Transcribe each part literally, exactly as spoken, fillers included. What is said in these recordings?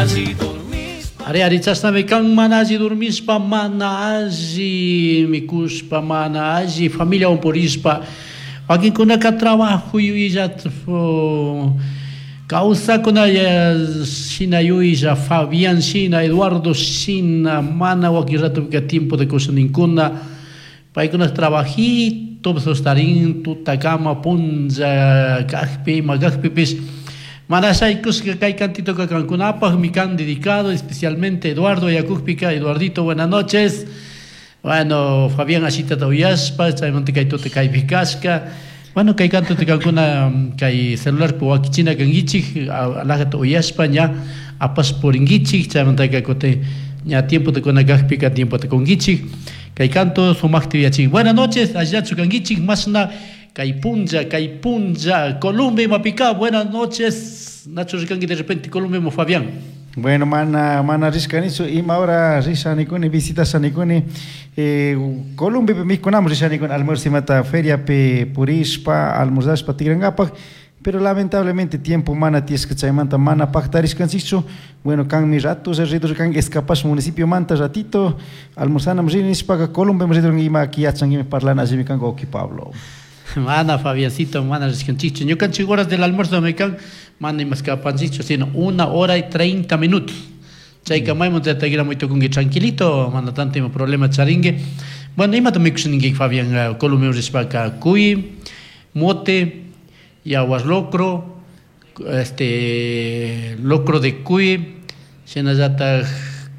Alli dormishpa. Ari ari chashnami kan mana alli dormishpa, mana alli mikushpa, mana alli familiawan purishpa, wakinkunaka trabajo yuyillat kawsakuna shina yuyilla Fabián shina, Eduardo shina, mana wakin ratopika tiempo de kusaninkuna, paykuna trabajito sostarin tutakama punlla kajpi ima kajpipish mana shaykushka kay cantitoka kankunapaq kan dedicado especialmente Eduardo Yakujpika. Eduardito, buenas noches. Bueno, Fabián ashitata uyashpa chaymanta kay tuta kaypi kashka. Bueno, kay cantota kankuna kay celularpi wakichina kankichik alajata uyashpa ña apash purinkichik chaymantaka kutin ña tiempota kuna kajpika tiempota kunkichik kay canto sumakta yachik. Buenas noches, allillachu kankichik mashna kay punlla kay punlla Colombia imapika. Buenas noches, Nacho rikanki de repente Colombia mo Fabián. Bueno, mana mana rishkanichu ima hora rishanikuni visitashanikuni eh, Columbiapi mikunami rishanikuni almuerzo imata feriapi purishpa almorzashpa tigrankapak, pero lamentablemente tiempo mana tiyashka chaymanta mana paktarishkanchikchu. Bueno, kanmi rato ridur kanki escapash municipio manta ratito almorzanam rini nishpaka Colombia ridur ima yachankimi parlana allimi kanka wawki Pablo. Mana Fabiancito, mana rishkanchikchu ñukanchik horas del almuerzo me kan mana imaskapanchikchu sino una hora y treinta minutos chayka maymanta muy tukunki tranquilito mana tanto ima problema charinki. Bueno, imata mikushaninki Fabián Colombia rishpaka? Cuy, mote, yaguas locro, este locro de cuy, shinallataj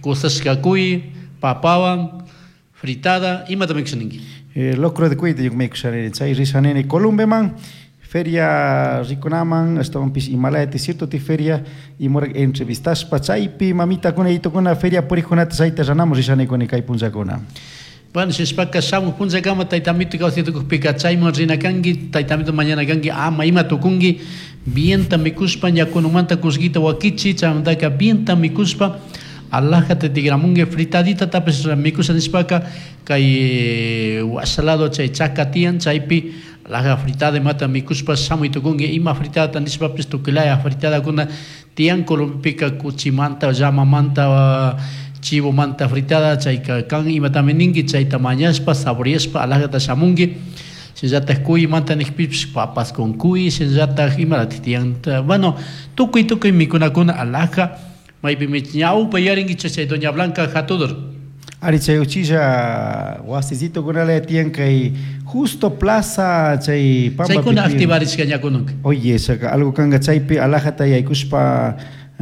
kusashka cuy, papawan fritada, imata mikushaninki? Eh, locro de cuy mikushanini chay rishanini Columbiaman feria rikunaman ashtawanpish Himalaya cierto ti feria imora entrevistashpa chaypi mamitakuna yayitukuna feria purikkunata chayta ranamun rishanikuni kay punllakuna. Bueno, shishpaka shamuj punllakama taytamito kawsaytukukpika chayman rina kanki, taytamito mañana kanki ama ima tukunki bienta mikushpa ñakunumanta kullkita wakichi chaymantaka bienta mikushpa alajata tigramunki fritadita tapish mikusha nishpaka kay washa lado chay chaka tiyan chaypi alaja fritada imata mikushpa shamuy tukunki ima fritadata nishpapis tukuylaya fritadakuna tiyan Colombiapika kuchimanta llamamanta chivomanta fritada chayka kan imatami ninki chayta mañashpa saboreashpa alajata shamunki shinallatak cuymanta nikpipish papas con cuy shinallatak imaratik tiyan bueno tukuy tukuy mikunakuna alaja maypimi ñawpa yarinkichik chay Doña Blanca hatudor. Ari chay uchilla wasisitokunala tiyan kay justo plaza chay pampa chaykuna activarishka ñakununka. Oye, chayka algo kanka chaypi alajata yaykushpa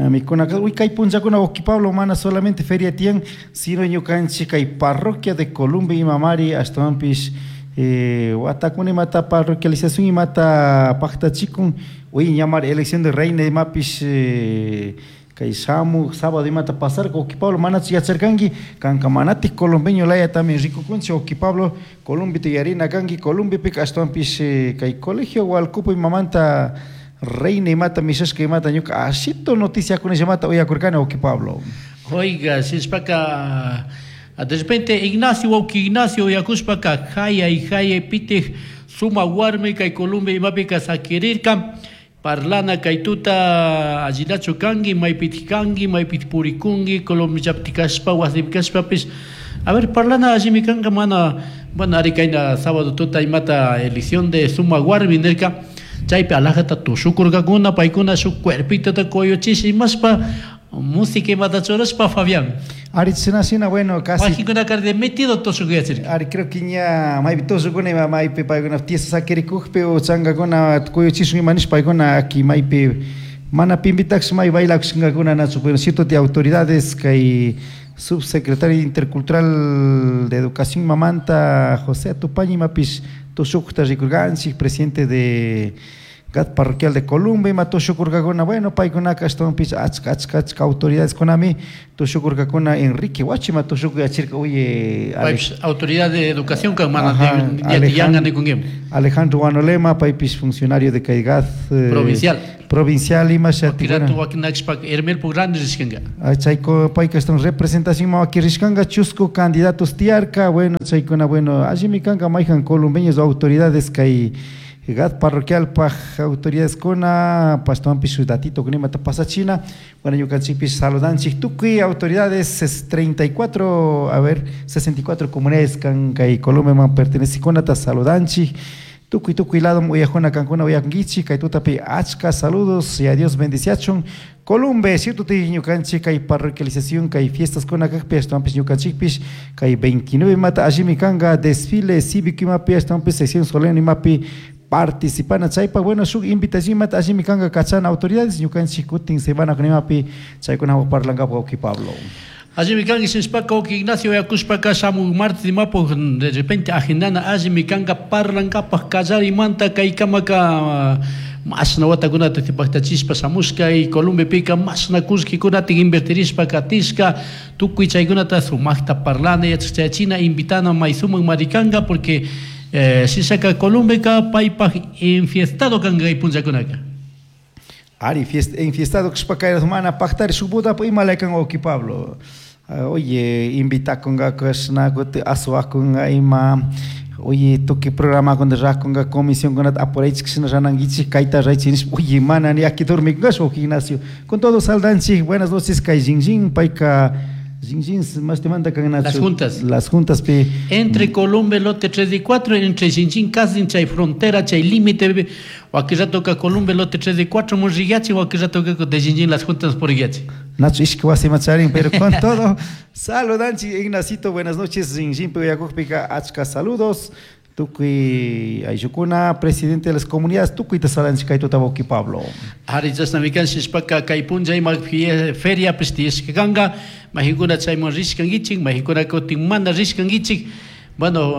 mikunaka uy kay punllakuna wawki Pablo mana solamente feria tiyan sino ñukanchik kay parroquia de Colombia imamari ashtawanpish eh, watakuna imata parroquialización imata paktachikun uy ñamari elección de reina imapish eh, kay shamuj sábado imata pasarka wawki Pablo manachu yacharkanki kanka manatik colombeño laya también rikukunchik wawki Pablo Colombita yarina kanki Colombiapika ashtawanpish kay colegio Hualcopo imamanta reina imata mishashka imata ñuka ashito noticiakuna llamata uyakurkani wawki Pablo. Oiga, shishpaka de repente Ignacio wawki Ignacio uyakushpaka hayay hayay pitik suma warmi kay Colombia imapika sakirirka parlana kay tuta allillachu kanki maypitik kanki maypitik purikunki Colombiapi kashpa wasipi kashpapish a ver parlana allimi kanka mana bueno ari kayna sábado tuta imata elección de suma warmi nirka chaypi alajata tushukurkakuna paykuna shuk cuerpitota kuyuchish imashpa música imata churashpa Fabián. Ari shina shina bueno casi wakinkunaka de metido tushukuyachirka. Ari creo que ña maypi tushukuna ima maypi paykuna tiesa sakirikukpi o chankakuna kuyuchishun ima nishpa paykuna aki maypi mana pimpitaksh may bailakushkakuna nachu pero cierto de autoridades kay subsecretario intercultural de educación mamanta José Atupaña imapish tushukta rikurkanchik presidente de G A D parroquial de Colombia ima tushukurkakuna bueno paykunaka ashtawanpish achka achka achka autoridades kunami tushukurkakuna Enrique Huachi ima tushukuyachirka uye paypish autoridad de educación kan mana Alejandro, Alejandro Guanolema paypish funcionario de kay G A D eh, provincial provincial ima shatikuna wakinakshpak Hermelpo grande rishkanka chayko payka ashtawan representación ima wakirishkanka chusku candidatos tiyarka bueno chaykuna bueno allimi kanka mayjan colombeños autoridades kay G A T parroquial paj autoridades kuna pastuanpish datito kunimata pasachina. Bueno, ñukanchikpish saludanchik tukuy autoridades, treinta y cuatro, a ver, sesenta y cuatro comunidades kan kay Columbeman pertenecikunata saludanchik. Tukuy tukuy lado uyajuna kankuna uyakunkichik kay tutapi, achka saludos y a Dios bendiciachun Columbe. Cierto, ñukanchik kay parroquialización kay fiestas kuna kakpi, ashtawanpish ñukanchikpish kay veintinueve mata allimi kanka desfile cívico imapi, ashtawanpish sesión solemne imapi participana. Chaypak, bueno, shuk invitación mata allimi kanka kachana autoridades. Ñukanchik kutin semana kunimapi chaykunawan parlankapak, wawki Pablo. Allimi kanki sinspaka, wawki Ignacio, yakushpaka shamuy martes imapu de repente agendana allimi kanka parlankapak kallarimanta kaykamaka mashna watakunata paktachishpa shamushka y Columbepika mashna kullkikunata invertirishpa katishka, tukuy chaykunata sumakta parlana, yachachachina, invitana may sumak marikanka, porque eh, sishaka Columbeka paypak enfiestado kanka kay punllakunaka. Ari, fiest, enfiestado kashpaka mana paktari shuk bodapi imalay kan, wawki Pablo? Ah, oye, invitakunga kashna kuti asuwakunga ima, oye, tukuy programakuna rakunga comisionkunata apuraychik shina ranankichik kayta raychik nishpa, oye, mana ni aquí dormikungash, wawki Ignacio. Con todo saldanchik, buenas noches kay Jinjin, payka Jinjin mashtimanta kan? Las Juntas. Las Juntas pi. Entre Columbe lote tres y cuatro, entre Jinjin casi chay frontera, chay límite, wakirato ka Columbe lote tres y cuatro murrigachi, wakirato ka de Jinjin Las Juntas por Igachi. Nacho ishki wasi macharin, pero con todo saludanchik Ignacito, buenas noches, Jinjin pi uyakukpika achka saludos. Tukuy ayllukuna, presidente de las comunidades, tukuyta saludanchik kay tuta, wawki Pablo. Ari, chashnami kan shishpaka kay punlla ima feria pues tiyashka kanka, majinkuna chayman rishkankichik, majinkuna kutin mana rishkankichik, bueno,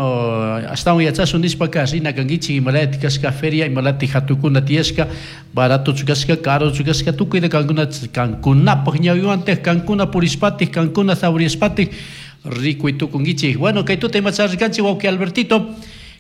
ashtawan yachashun nishpaka rina kankichik imalati kashka feria, imalati hatukuna tiyashka, baratochu kashka, carochu kashka, tukuyta kankuna kankunapak ñawiwantik, kankuna purishpatik, kankuna saboreashpatik rikuy tukunkichik. Bueno, kay tuta ima charrikanchik, wawki Albertito,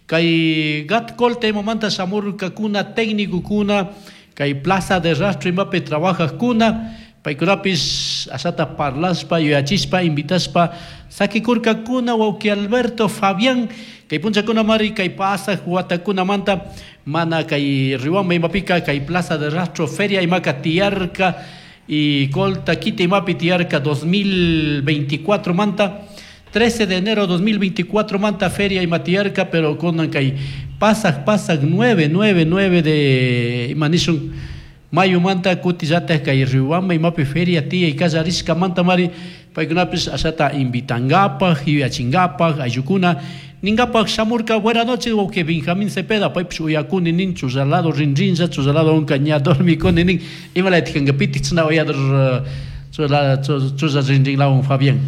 kay G A T Colta imamanta shamurkakuna técnicokuna kay Plaza de Rastro imapi trabajajkuna, paykunapis ashata parlashpa, yuyachishpa, invitashpa sakikurkakuna, wawki Alberto, Fabián. Kay punchakuna mari kay pasaj watakunamanta mana kay Riobamba imapika kay Plaza de Rastro feria imaka tiyarka y Colta kita imapi tiyarka dos mil veinticuatro manta, trece de enero dos mil veinticuatro manta feria ima tiyarka, pero kunan kay pasaj pasaj nueve nueve nueve de imanishun mayo manta kutillata kay Riobamba imapi feria tiyay kallarishka manta mari paykunapis ashata invitankapaj, yuyachinkapak, ayllukuna ninkapak shamurka. Buenas noches, wawki Benjamín Cepeda, paypish uyakuni nin, chullalado rinrinlla, chullalado unka ña dormikuni nin. Imalaytik kanka, pitik chashna uyador chulla chulla rinrinlawan, Fabián?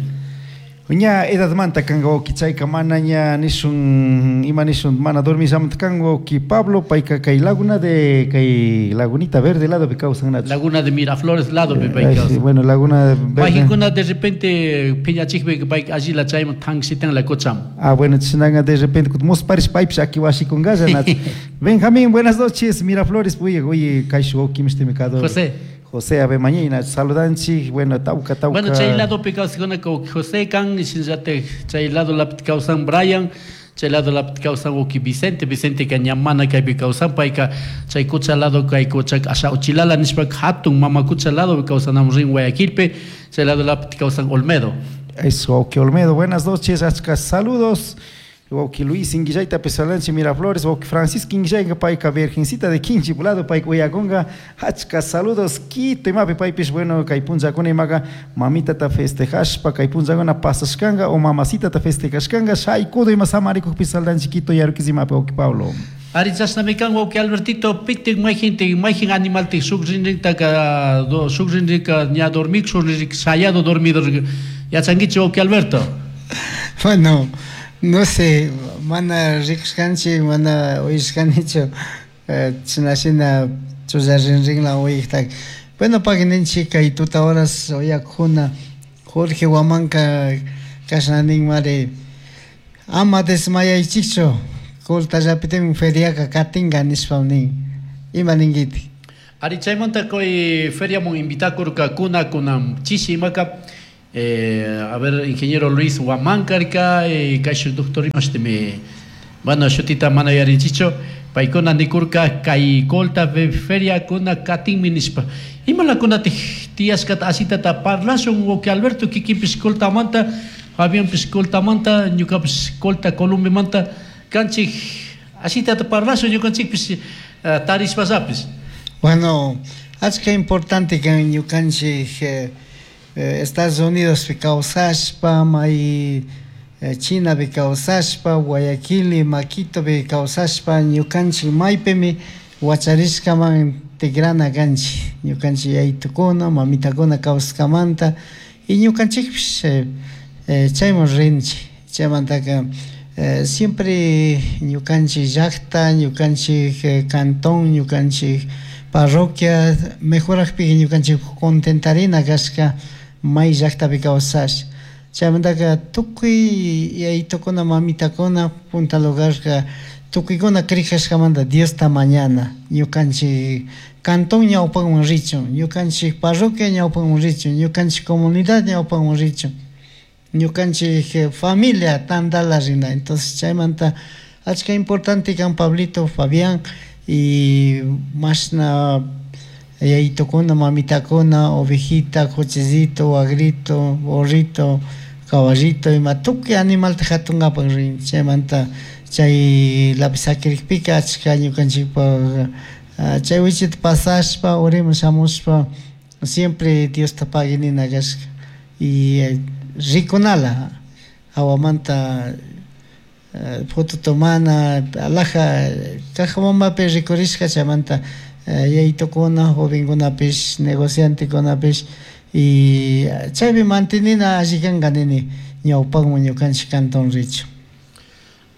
Ña edadmanta kanka, wawki, chayka mana ña nishun ima nishun mana dormishamanta kan, wawki Pablo. Payka kay laguna de kay Lagunita Verde lado pi kawsan, Nacho. Laguna de Miraflores lado pi pay Ay, sí, kawsan. Bueno, Laguna Verde. Majinkuna de repente piñachikpi pay allila chayman tanksitan la cocham. Ah, bueno, chinaga de repente musparish paypish aki washikungalla, Nacho. Benjamín, buenas noches, Miraflores, oye, oye, kay wawki mishtimi kado. José. José Ave Mañina, saludanchik, bueno, tauka tauka. Bueno, chay lado pi kawsakuna José kan, shinallatik chay lado lapi kawsan Brian, chay lado lapi kawsan wawki Vicente. Vicente ka ña mana kaypi kawsan, payka chay kucha lado kay kucha asha Uchilala nishpa hatun mama kucha lado kawsanamun rin Guayaquilpi, chay lado lapi kawsan Olmedo. Eso, wawki Olmedo, buenas noches, achka saludos. Wawki Luis Inguillayta pesalanchi Miraflores, wawki Francisco Inguillayka payka Virgencita de Quinchi lado payka uyakunga, achka saludos, Quito imapi paypish, bueno, kay punllakuna imaga mamitata festejashpa kay punllakuna pasashkanga o mamacitata festejashkanga shaykudo ima samarikukpi saldanchi Quito Yaruquis imapi, wawki Pablo. Ari, chashnami kan, wawki Albertito. Pitik mayjintik mayjin animaltik shuk rinrintaka shuk rinrinka ña dormik, shuk rinrin sayado dormido, yachankichik, wawki Alberto? Bueno, no sé, mana rikushkanchik, mana uyashkanichu china shina chulla rinrinla uyaktak. Bueno, pagininchik kay tuta horas uyakuna Jorge Huamanca kashna nin mari: ama desmayaychikchu, Coltallapitimi feriaka katinka nishpa nin. Ima ninkitik? Ari, chaymanta kay feriamun invitakurkakuna kunan chishi imaka eh, a ver, ingeniero Luis Huamancarca, eh, kayshuk doctor imashtimi, bueno, shutita mana yarinchichu. Paykuna nikurka kay Colta feria kuna katinmi nishpa. Imalakunatij tiyashkata asitata parlashun wawqi Alberto kikinpish Coltamanta, Fabianpish Coltamanta, ñukapish Colta Columbemanta kanchik asitata parlashun ñukanchikpish tarishpasapis. Bueno, achka importante kan ñukanchik eh, Estados Unidospi kawsashpa, may Chinapi kawsashpa, Guayaquil, Maquitopi kawsashpa, ñukanchik maypimi wacharishkaman tigrana kanchik, ñukanchik yayitukuna, mamitakuna kawsashkamanta y ñukanchikpish eh, chayman rinchik. Chaymantaka eh, siempre ñukanchik llakta, ñukanchik cantón, ñukanchik parroquia mejorajpika ñukanchik contentarina kashka may llaktapi kawsash. Chaymantaka tukuy yayitukuna, mamitakuna punta lugarka tukuykuna crikashkamanta Diosta mañana, ñukanchik cantón ñawpakman richun, ñukanchik parroquia ñawpakman richun, ñukanchik comunidad ñawpakman richun, ñukanchik familia tantala rina. Entonces chaymanta achka importante kan Pablito, Fabián y mashna yayitukuna, mamitakuna, ovejita, cochecito, wagrito, burrito, caballito, ima tukuy animalta hatunkapak rin. Chaymanta chay lapi sakirikpika achka ñukanchikpak chay wichita pasashpa uriman shamushpa siempre Diosta paginina kashka y rikunala hawamanta foto tomana alaja Cajabambapi rikurishka. Chaymanta yayitukuna, jovenkunapish, negociantekunapish y chaypi mantenina alli kanka nini ñawpakman ñukanchik cantón richu.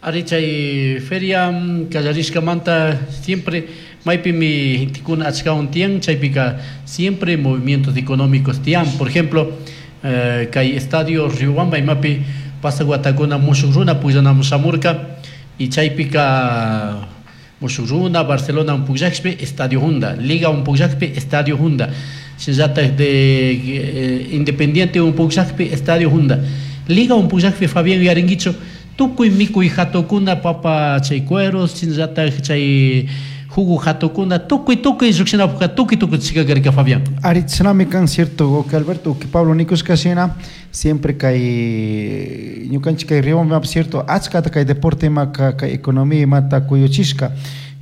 Ari chay feria kallarishkamanta siempre maypimi gentekuna achkawan tiyan, chaypika siempre movimientos económicos tiyan. Por ejemplo, eh, kay estadio Riobamba imapi pasaq watakuna mushuk runa pukllanamun shamurka y chaypika mushuk runa Barcelona pukllakpi estadio hunda, Liga pukllakpi estadio hunda, shinallatak de eh, Independiente pukllakpi estadio hunda, Liga pukllakpi Fabián yuyarinkichu tukuy mikuy hatukuna papa chay cueros, shinallatak chay jugo hatukuna tukuy tukuy llukshinapukka tukuy tukuy chikakarka Fabián. Ari chinami kan cierto que Alberto que Pablo nikushka shina siempre kay ñukanchik kay Riobamba cierto achkata kay deporte ima kay economía imata kuyuchishka.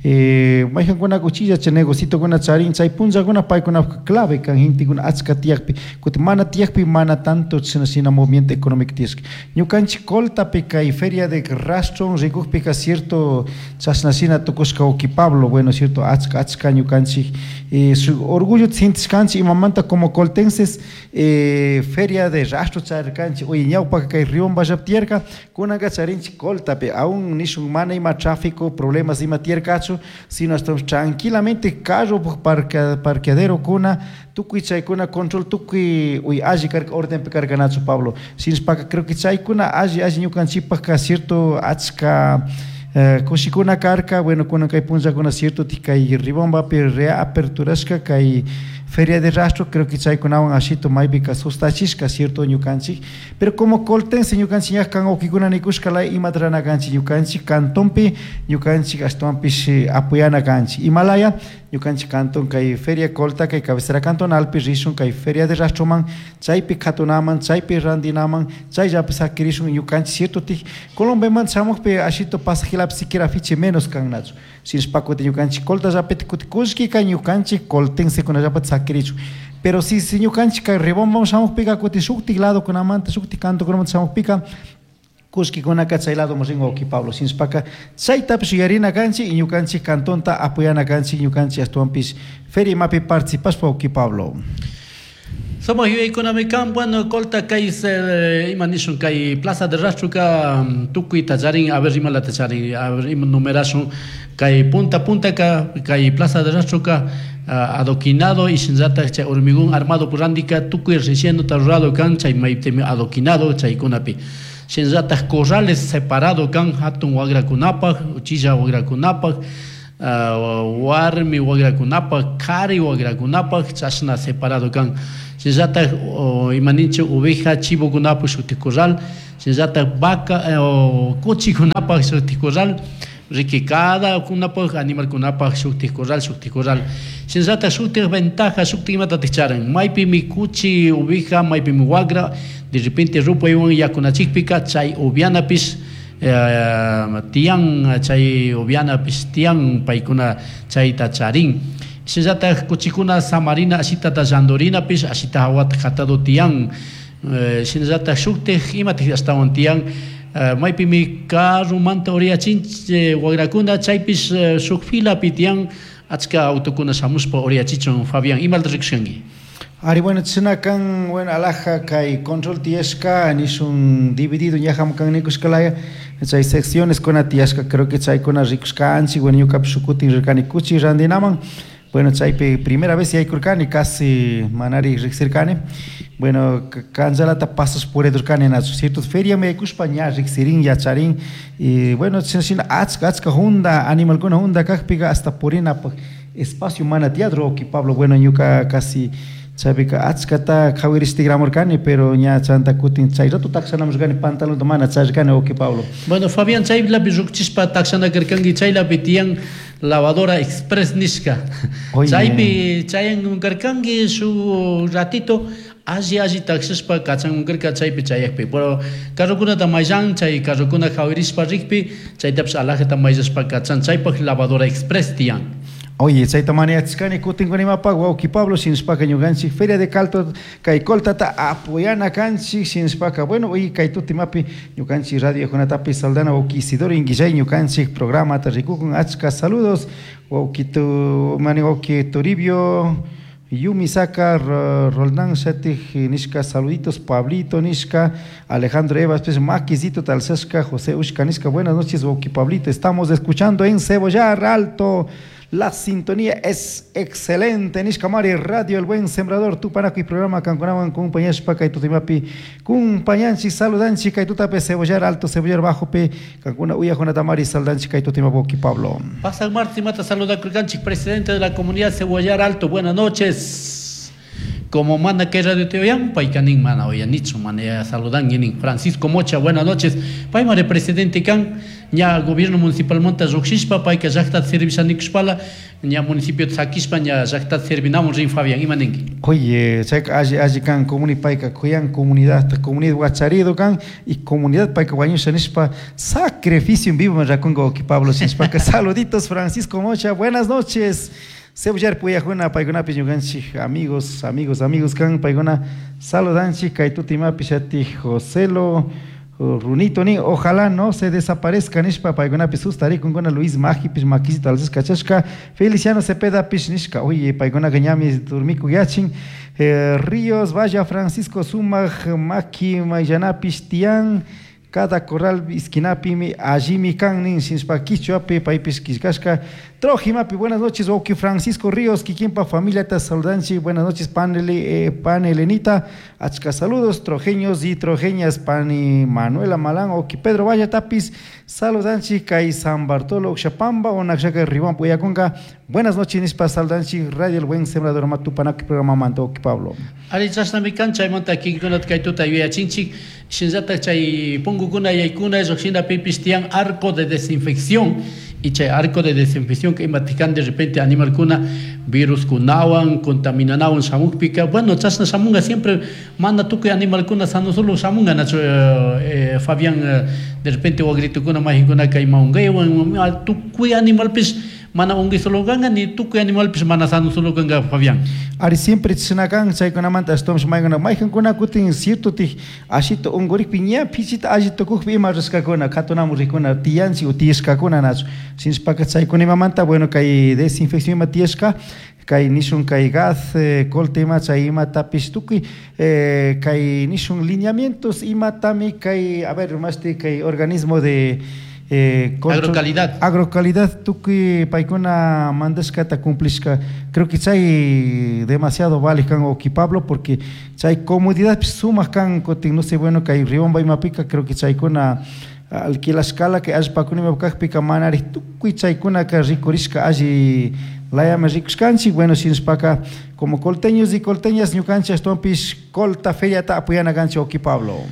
Eh, mayqankuna uchilla chay negocitukuna charin chay punllakuna paykuna clave kan gentekuna achka tiyakpi kutin mana tiyakpi mana tanto china shina movimiento económico tiyashka. Ñukanchik Coltapi kay feria de rastro rikukpika cierto chashna shina tukushka wawqi Pablo, bueno cierto achka achka ñukanchik eh, su orgullo sintishkanchik imamanta como coltenses eh, feria de rastro charirkanchik uy ñawpaka kay Riobamballapi tiyarka kunanka charinchik Coltapi aún nishun mana ima tráfico problemas ima tiyarkachu, sino estamos tranquilamente carro parque, parqueadero kuna tukuy chaykuna control tukuy uy alli karka ordenpi karkanachu Pablo. Shinashpaka creo que chaykuna alli alli ñukanchikpaka cierto achka eh, kushikuna karka. Bueno, kunan kay punllakuna cierto kay Riobambapi reaperturashka kay feria de rastro, creo que chaykunawan ashito maypika sustachishka cierto ñukanchik, pero como coltense ñukanchik ña kan wawqikuna nikushka laya imata rana kanchik ñukanchik cantonpi ñukanchik ashtawanpish apoyana kanchik imalaya ñukanchik canton kay feria Colta kay cabecera cantonalpi rishun kay feria de rastroman chaypi katunaman chaypi randinaman chayllapi sakirishun ñukanchik cierto tik Colombiaman shamukpi ashito pasajilapi siquiera afiche menos kannachu shinashpa kutin ñukanchik Coltallapi kutin kullkika ñukanchik coltensekunallapati sakirichun. Pero si si ñukanchik kay Riobambaman shamukpika kutin shuktik ladokunamanta shuktik cantokunamanta shamukpika kullkikunaka chay ladoman rin wawqi Pablo. Shinashpaka chaytapish yuyarina kanchik y ñukanchik cantonta apoyana kanchik ñukanchik ashtawanpish feria imapi participashpa wawqi Pablo. Somos yuyaykunami kan, bueno, Colta kay ima nishun kay Plaza de Rastroka tukuyta charin, a ver imalata charin, a ver ima numerashun kay punta punta ka kay Plaza de Rastroka adoquinado y shinallatak chay hormigón armado purandika tukuy relleno rurado kan chay maypimi adoquinado chaykunapi. Shinallatak corrales separado kan hatun wagrakunapaq, uchilla wagrakunapaq, warmi wagrakunapaq, kari wagrakunapaq chashna separado kan. Shinallatak imaninchik oveja chivokunapaq shuti corral, shinallatak vaca kuchikunapaq shuti corral, Riki cada kunapaj animal kunapaj shuktik corral shuktik corral. Shinallata shuktik ventaja shuktik imata ticharan. Maypimi kuchi oveja, maypimi wagra, de repente rupaywan yakunachikpika chay uvianapis eh, tiyan chay uvianapis tiyan paykuna chayta charin. Shinallata kuchikuna samarina ashitata llandorinapis ashita hawata katado tiyan. Eh, shinallata shuktik imatik ashtawan tiyan. Uh, maypimi carrumanta uriyachin wagrakuna chaypis uh, shuk filapi tiyan achka autokuna shamushpa uriyachichun. Fabián, imalta rikushkanki? Ari, bueno, chinakan, bueno, alaja kay control tiyashka nishun dividido ñaham kan nikushkalaya chay secciones kuna tiyashka, creo que chaykuna rikushkanchik. Bueno, ñukapish shukutin rirkani kuchi randinaman. Bueno, chaypi primera vez yaykurkani, casi manari riksirkani. Bueno, kanchalata pasas puridurkani nachu, cierto feria me yaykushpa ña riksirin yacharin. Y bueno, china achka achka hunda animalkuna hunda kajpika hasta purinapaj espacio mana teatro oki Pablo. Bueno, ñuka casi chaypika achkata qhawaristigramurkani, pero ña chanta kutin chay rato takshanamurkani pantalonta mana charirkani oki Pablo. Bueno, Fabián, chaylapi rukchishpa takshanakirkanki, chaylapi tiyan lavadora express nishka. Chaypi chayankarkanki su ratito alli alli taksishpa kachankarka chaypi chayakpi. Pero carrokunata mayllan, chay carrokuna qhawarishpa rikpi, chaytapish alajata mayllashpa kachan, chaypaj lavadora express tiyan. Oye, chayta maniachkani kutin kunimapaq wawqi Pablo, shinashpaka ñukanchik Feria de Calto kay Coltata apoyana kanchik, shinashpaka bueno, oye, kay tutimapi ñukanchik radio kunatapi saldana wawqi Isidoro Inguillay ñukanchik programata rikukun, achka saludos wawqi tu mani wawqi Toribio Yumisaka, Roldán Shatij nishka, saluditos Pablito nishka, Alejandro Evas, pues Maquisito Talsashka, José Ushka nishka, buenas noches wawqi Pablito, estamos escuchando en Cebollar Alto. La sintonía es excelente. Nishka Mari, Radio El Buen Sembrador, Tupanaco y programa Cancunaban, compañeros Paca y Tutimapi, compañanchi, saludanchi, Kaitutape, Cebollar Alto, Cebollar Bajo, Pe, Cancuna, Uya, Jonatamari, Saldanchi, Kaitutimapoki, Pablo. Pasa Martín Mata, saluda Curcanchi, presidente de la comunidad Cebollar Alto. Buenas noches. Como manda que radio te oyan, paicanin mana oyanicho, mana saludan yenin. Francisco Mocha, buenas noches. Paimare presidente kan, ña gobierno municipal monta Roxispa, paika llaqta servishanikushpala, ña municipio Tzakispa, ña llaqta servinamos rin Fabián, imanenki. Oye, chayka alli alli kan comuni paika kuyan comunidad, comunidad huacharido kan y comunidad paika wañusha nishpa sacrificio en vivo me rakungo oki Pablo nishpaka. Saluditos Francisco Mocha, buenas noches. Cebollar puyajuna paykunapi ñukanchik amigos, amigos, amigos kan paykuna saludanchik kaytutimapi shati Joselo Runito ni ojalá no se desaparezca nishpa paykunapi sustarikunkuna Luis Majipis Maquisito alzas kachashka Feliciano Cepeda pish nishka. Oye, paykunaka ñami durmikuyachin. eh, Ríos Vaya Francisco Sumaj Maki Mayanapis tiyan cada corral esquinapimi allimi kan nin sinshpa quichuapi paypis quillkashka Trojimapi. Buenas noches wawqi Francisco Ríos kikinpa familiata saludanchi. Buenas noches panele eh, panelenita, achka saludos trojeños y trojeñas pani Manuela Malán wawqi Pedro Valla Tapis saludanchi kay San Bartolo Oxapamba onakshaka Ribán Puyakunka. Buenas noches nishpa saludanchi Radio El Buen Sembrador Matupanaki programa manta wawqi Pablo. Ari chashnami kan chaymanta kinkunata kay tuta yuyachinchik shinallata chay punkukuna yaykuna lluqshina pipis tiyan arco de desinfección y chay arco de desinfección que imatikan de repente animalkuna virus kunawan contaminanawan shamukpika. Bueno, chashna shamunga siempre mana tukuy animalkuna sano solo shamunga nacho eh, eh, Fabián eh, de repente wagritukuna majikuna kay maungaywan tukuy animalpis mana ungi solo ganga ni tukuy animalpis mana sano solo ganga Fabián. Ari siempre chinakan chaykunamanta ashtawanpish maykuna maykankuna kutin cierto tij ashito unkurikpi ña pichita alli tukukpi ima rishkakuna katunamun rikuna tiyanchik o tiyashkakuna nachu shinashpaka chaykuna imamanta bueno kay desinfección ima tiyashka kay nishun kay gas eh, colta ima chay imatapish tukuy eh, kay nishun lineamientos imatami kay a ver mashti kay organismo de Eh, agrocalidad. Agrocalidad tukuy paykuna mandashkata cumplishka. Creo que chay demasiado vale kan oki Pablo porque chay comodidad sumaq kan kutin no sé bueno kay Riobamba imapika creo que chaykuna alquilashkala que allpakuna imapakpika manari tukuy chaykunaka rikurishka alli layami rikushkanchik. Bueno, shinashpaka como colteños y colteñas ñukanchik ashtawanpish Colta Feriata apoyana kanchik oki Pablo.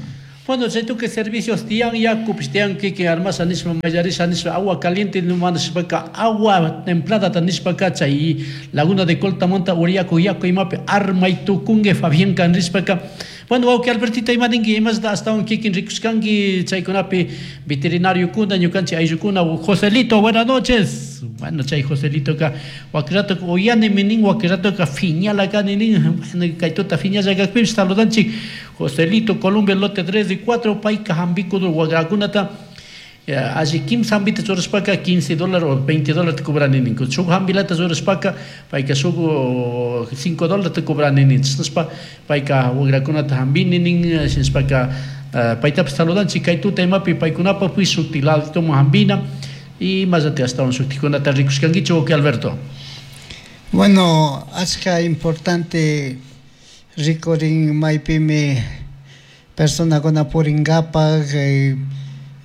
Bueno, chay tukuy servicios tiyan yakupish tiyan kikin armasha nishpa mallarisha nishpa agua caliente nishpaka agua templada nishpaka chay Laguna de Coltamanta uriyaku yaku imapi armay tukunki Fabián kan rishpaka. Bueno, wawki Albertito ima ninki imashta astawan kikin rikushkanki chaykunapi veterinariokuna ñukanchik ayllukuna. Joselito, buenas noches. Bueno, chay Joselitoka wakiratoka uyanimi nin, wakiratoka fiñala kani nin. Bueno, kay tuta fiñalla kakpipish saludanchik Joselito, Colombia, lote tres y cuatro, payka hampikudur wakrakunata alli kimsa hambita churashpaka quince dólares o veinte dólares te cobrani nin. Shuk hambilata churashpaka payka shuk cinco dólares te cobrani nin. Chashnashpa payka wakrakunata hambini nin, shinashpaka paytapish saludanchik kay tuta imapi paykunapakpish shukti laditoman hambina y más astawan shuktikunata rikushkankichu wawki Alberto. Bueno, achka importante rikurin maypimi personakuna purinkapak eh,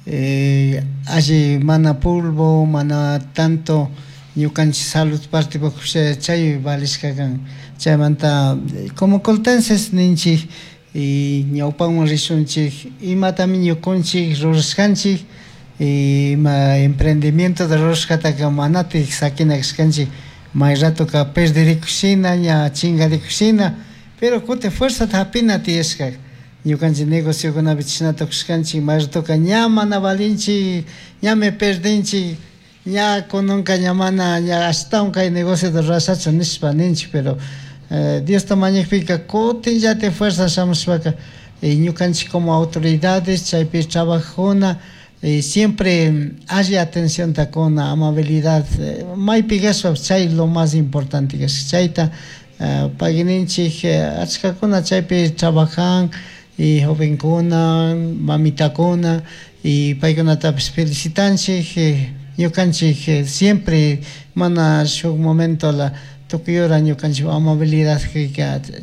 eh, alli mana polvo, mana tanto ñukanchik salud partipuk chay valishka kan. Chaymanta como coltenses ninchik y ñawpanman rishunchik imatami ñukunchik rurashkanchik ima emprendimiento de rurashkataka manatik sakina kashkanchik may ratoka perdirikushina ña chingarikushina, pero kutin fuerzata hapina tiyashka ñukanchik negociokunapi chashnata kushkanchik may ratoka ña mana valinchik ñami perdinchik ña kunanka ña mana ña ashtawan kay negociota rurashachu nishpa ninchik, pero eh, Diosta mañakpika kutinllatik fuerza shamushpaka ñukanchik como autoridades chaypi trabajuna y siempre alli atención kuna, amabilidad maypi kashpa chay lo más importante kashka chayta payninchik achkakuna chaypi trabajan y jovenkuna, mamitakuna y paykunatapish felicitanchik ñukanchik siempre mana shuk momento la tukuy hora ñukanchik amabilidad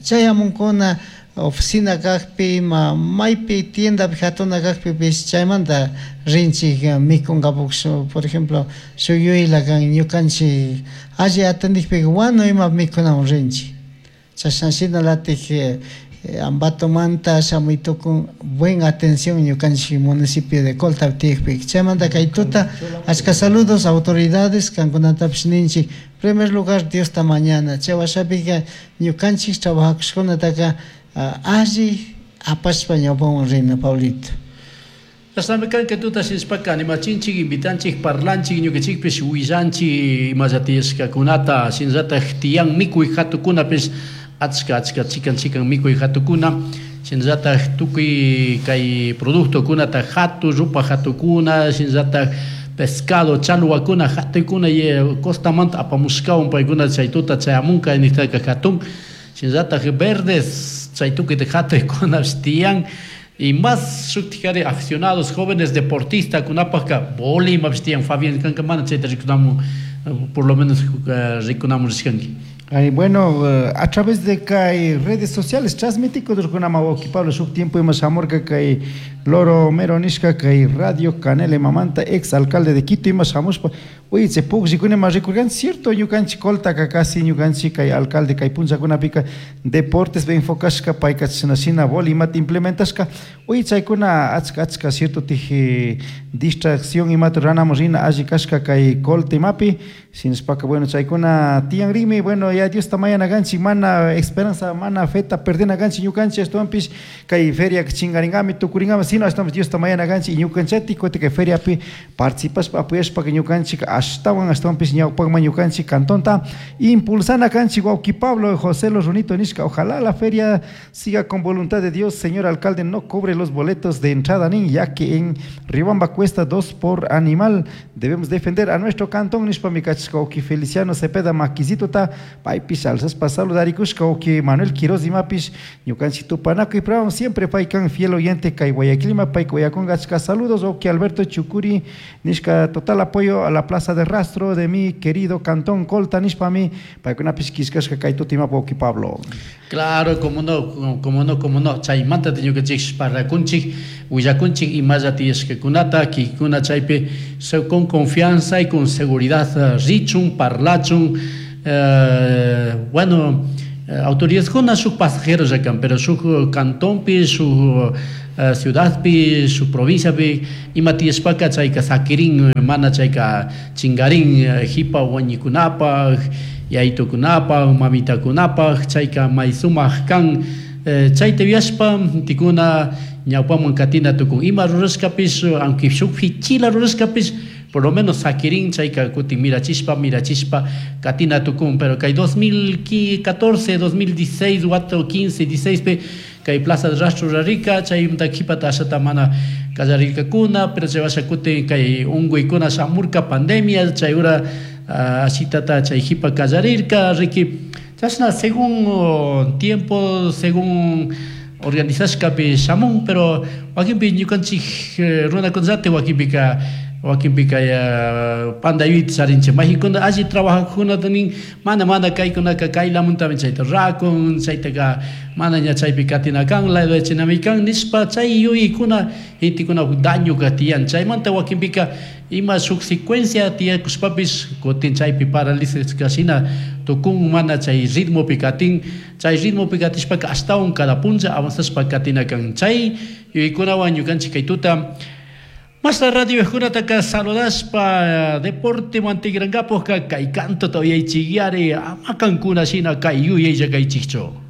chayamunkuna oficina kakpi ma maypi tiendapi hatuna kakpipish chaymanta rinchik mikunkapak por ejemplo shuk yuyla kan ñukanchik alli atendikpika wanu ima mikunawan rinchik chashna shinalatik Ambatomanta shamuy tukun buen atención ñukanchik municipio de Colta tiyakpika. Chaymanta kay tuta achka saludos autoridades kankunatapish ninchik primer lugar Diosta mañana chay washapika ñukanchik trabajakushkunataka alli apashpa ñawpawan rina, Pablito. Chashnami kan kay tuta shinashpaka animachinchik, invitanchik, parlanchik, ñukanchikpish willanchik imalla tiyashkakunata shinallatak tiyan mikuy hatukunapish achka achka chikan chikan mikuy hatukuna shinallatak tukuy kay productokunata hatu rupa hatukuna shinallatak pescado chalwakuna hatuykuna costamanta apamushkawan paykuna chay tuta chayamunka niktaka hatun shinallatak verdes chay tukuyta hatuykunapish tiyan y más shuktikari aficionados jóvenes deportistas kunapaka boli imapish tiyan. Fabián kanka mana chayta rikunamun por lo menos rikunamun rishkanki. Ay, bueno, a través de kay redes sociales transmití con wawki Pablo shuk tiempo ima shamurka kay Loro Mero nishka kay Radio Canela Mamanta ex alcalde de Quito ima shamushpa uy chay pukllkuna ima rikurkan cierto ñukanchik Coltaka casi ñukanchik kay alcalde kay punllakunapika deportes be enfocashka payka chashna shina boli imata implementashka uy chaykuna achka achka cierto tiji distracción imata ranamun rina alli kashka kay Colta imapi shinashpaka bueno chaykuna tiyanrinmi. Bueno, ya Diosta mañana kanchik mana esperanza mana feta perdena kanchik ñukanchik ashtawanpish kay feria chingaringami tukuringami sino ashtawanpish Diosta mañana kanchik ñukanchati kutin kay feriapi participashpa apoyashpa ñukanchik ashtawan ashtawanpish ñawpakman ñukanchik cantonta impulsana kanchik wawki Pablo José Los Runito nishka ojalá la feria siga con voluntad de Dios, señor alcalde no cobre los boletos de entrada nin ya que en Riobamba cuesta dos por animal, debemos defender a nuestro cantón nishpa mikachishka wawki Feliciano Cepeda Maquisitota paypish alzashpa saludarikushka wawki Manuel Quiroz imapish ñukanchik tupanakuy programa siempre paykan fiel oyente kay Guayaquilma payka uyakunka achka saludos wawki Alberto Chucuri nishka total apoyo a la plaza de rastro de mi querido cantón Colta nishpami paykunapish kishkashka kay tuta imapa wawki Pablo. Claro, como no, como no, como no. Chaymanta ñukanchik parlakunchik willakunchik imalla tiyashkakunata kikuna chaypi con confianza y con seguridad richun parlachun. Eh, bueno, Autoridadkuna shuk pasajeros kan, pero shuk cantonpi, shuk ciudadpi, shuk provinciapi ima tiyashpaka chayka sakirin, mana chayka chingarin hipa wañikunapaj, yaytukunapaj, mamitakunapaj, chayka may sumak kan. Chayta yuyashpa tikuna ñawpaman katina tukun ima rurashkapish, aunque shuk fichila rurashkapish, por lo menos sakirin chayka kutin mirachishpa mirachishpa katina tukun. Pero kay dos mil catorce, dos mil dieciséis, wata quince, dieciséis pe kay Plaza de Rastro rarika chaymanta qhipata ashata mana kallarirkakuna, pero chay washa kutin kay unkuykuna shamurka pandemia chay ura ashitata chay qhipa kallarirka riki. Chashna según tiempo, según organizashkapi shamun, pero wakinpi ñukanchik runakunallati wakinpika wakinpika panda yuyayta charinchik mayqikuna alli trabajajkunata nin mana mana kaykunaka kaylamuntami chayta rakun chaytaka mana ña chaypi katina kan ladachinami kan nishpa chay yuyaykuna gentekuna dañoka tiyan chaymanta wakinpika ima shuk secuencia tiyakushpapish kutin chaypi paralizashka shina tukun mana chay ritmopi katin chay ritmopi katishpaka ashtawan cada punlla avanzashpa katina kan chay yuyaykunawan ñukanchik kay tuta Más radio junataka saludashpa deporte mantigrangapoka kay canto uyaychikyari ama kankuna shina kay yuyaylla kaychikchu.